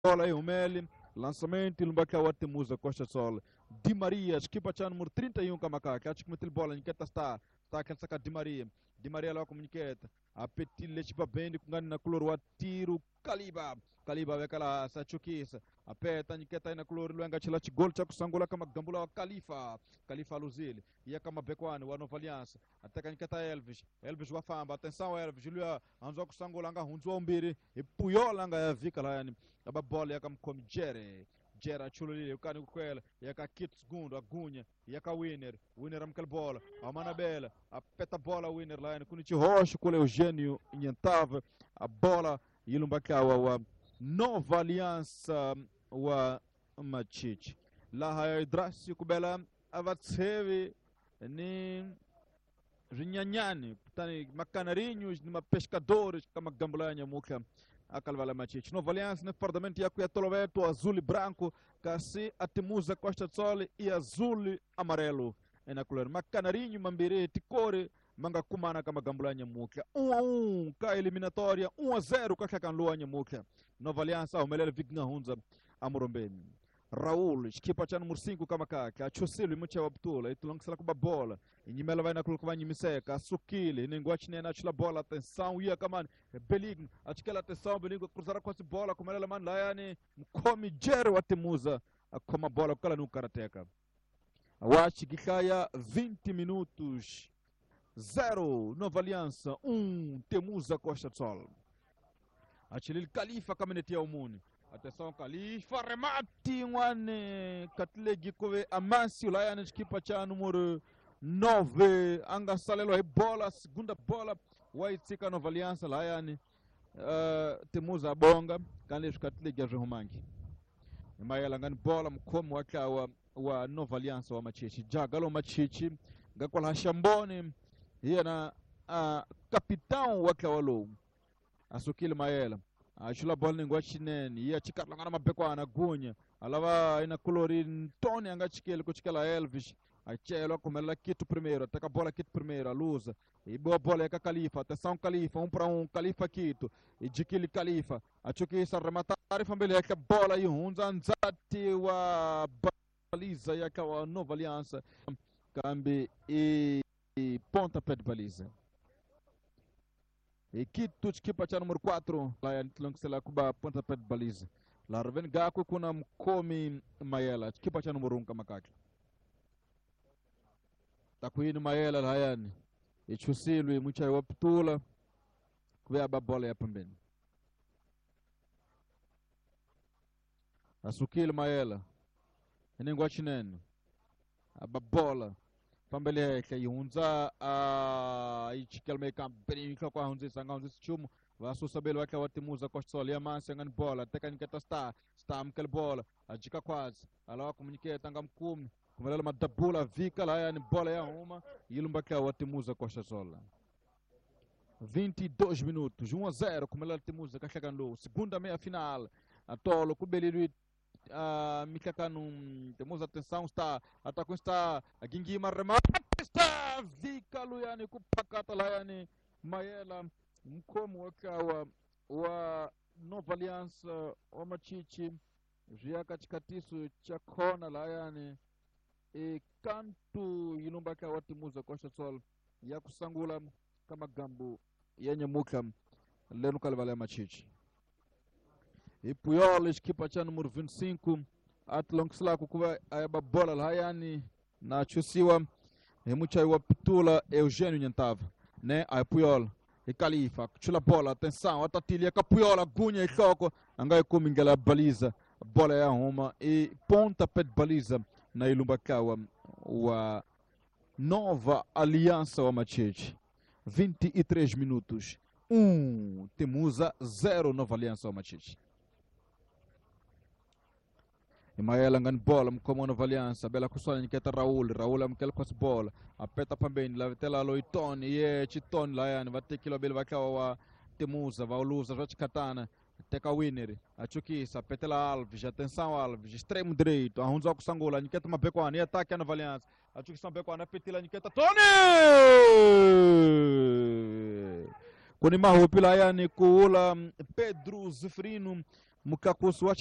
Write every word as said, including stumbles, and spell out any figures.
Bola aí, Umeli, lançamento, Lumbaka Watemuza, Costa Sol, Di Maria, equipa cha número trinta e um Kamaka, acho que meteu bola, Niqueta está, está aquele saca Di Maria, Di Maria lá com Niqueta, a Petilha, equipa bem, com na color, o tiro, Caliba, Caliba vai aquela Sachuquisa, a peta, Niqueta aí na color, Luenga, Chilati, gol, Chaco Sangola, Kama Gambula, Califa, Califa Luzile, e a Kama Bekwani, o Nova Aliança, até que Niqueta Elvis, Elvis Wafamba, atenção Elvis, Julia, Anzoco Sangolanga, Hunzo Umbiri, e Puyolanga, a Vika lá, a bola, e a Kama Jere. Gera chululile ukani kukwela yaka kit segundo agunha yaka winner winner amkel bola a manabela a peta bola winner lá kuni rocho com Eugênio Nhantava a bola ilumbakawa wa Nova Aliança wa Machichi lá Hidrasi kubela avatsevi ni rinhanyani kutani macanarinhos ni pescadores kama gambulanya muka akalvala Machichi. Nova Aliança no departamento ya Toloveto, azul e branco, kasi atimuza Costa Sol e azul e amarelo. É na color Macanarinho, Mambirê, Ticore, manga kumana kama gambulanya muka. um a um, ka eliminatória, um a zero, ka kakanluanya muka. Nova Aliança, o melhor Vigna Hunza, Amorombeni. Raul, equipa cha número cinco kama kaka, achosilo imucha wabtula, itulongisela kuba bola, inyimela vai na kulu kuba nyimiseka, asukile, ninguachine na chila bola, atenção, ia kamani, Beligno, achikela atenção, Beligno, cruzar com essa bola, como ela mano, laiane, mkomi jero watemuza, akoma bola, kala no karateka. Awachi Gikaya, vinte minutos, zero, Nova Aliança, um, Temuza Costa Sol. Achilil Califa, caminete ao Muni. Atenção, Califa, remate, um Catlegi Kove, Amancio, Laiane, equipa cha número nove, Anga Salelo, é bola, segunda bola, Waitzika Nova Aliança, Laiane, uh, Temuza Bonga, Canles Catlegi Arrumangi. Maela ngani bola, mkomo waka wa, wa Nova Aliança wa Machichi, Jagalo Machichi, Gakola Shambone, hiya uh, capitão waka walo, Asukile Maela. Achula bola ningwa chinene ia chikarlangana mabekwana gunya alava ina colori Tony anga chikele kuchikela Elvis achelo kumela kitu primeiro ataka bola kitu primeiro aluza e boa bola ya Califa atenção Califa um para um Califa Quito e Jikili Califa achukisa rematar fambele ya bola e hunza nzati wa baliza ya kwa Nova Aliança kambi e, e ponta pé de baliza. E Quito, equipa cha número quatro, lá é Tlonxela Cuba, ponta pé de baliza. Lá vem Gaku kuna mkomi Mayela, equipa cha número um Kamakaki. Takuini Mayela lá yani. E Chusilwi mucha waptula kuya bola ya pembeni. Asukile Mayela. Enengwa chinene. Ababola. Pambele yake ihunza a ichikelme kampeni kwa hunza sanga hunza chumu vasusa belo wake watimuza Costa Sol ya mansi ngani bola teka niketa star star mkel bola ajika kwazi alawa komuniketa nga mkumi kumelela madabula vika la yani bola ya uma ilumba kwa watimuza Costa Sol vinte e dois minutos um a zero kumelela timuza kashakando segunda meia final atolo kubelilwi Uh, Mikakanu, temos atenção, está atacou está a Gingima remate está Vika Luyani kupakata Layani Mayela mkomo wakawa wa Nova Aliança wa Machichi Riaka chikatiso cha kona Layani e kantu ilumba ka watimuza Costa Sol ya kusangula kama gambu yenye muka leno kalvala Machichi. E Puyol, equipa cha número vinte e cinco, Atlonxla kukuwa ayaba bola lahayani na chusiwa emucha wa pitula Eugênio Nhantava, né? Aí Puyol, e Califa, chula bola, atenção, atatilia ka Puyol, agunha e toco, angai kumingela baliza, bola ya uma e ponta pé de baliza na Ilumbakawa wa Nova Aliança wa Machichi. vinte e três minutos, um Temuza, zero Nova Aliança wa Machichi. Maela ngani bola mkomo Nova Aliança bela kusona niketa Raul Raul amkela kwa bola apeta pambeni la vitela loitoni ye chitoni la yani vatekilo bela vakawa wa Temuza vauluza vachikatana teka winner achukisa petela Alves atenção Alves extremo direito arrunza kusangula niketa mabekwana e ataque a Nova Aliança achukisa mabekwana petela niketa Tony kuni mahupi la yani kuula Pedro Zefrino Mukakusu wa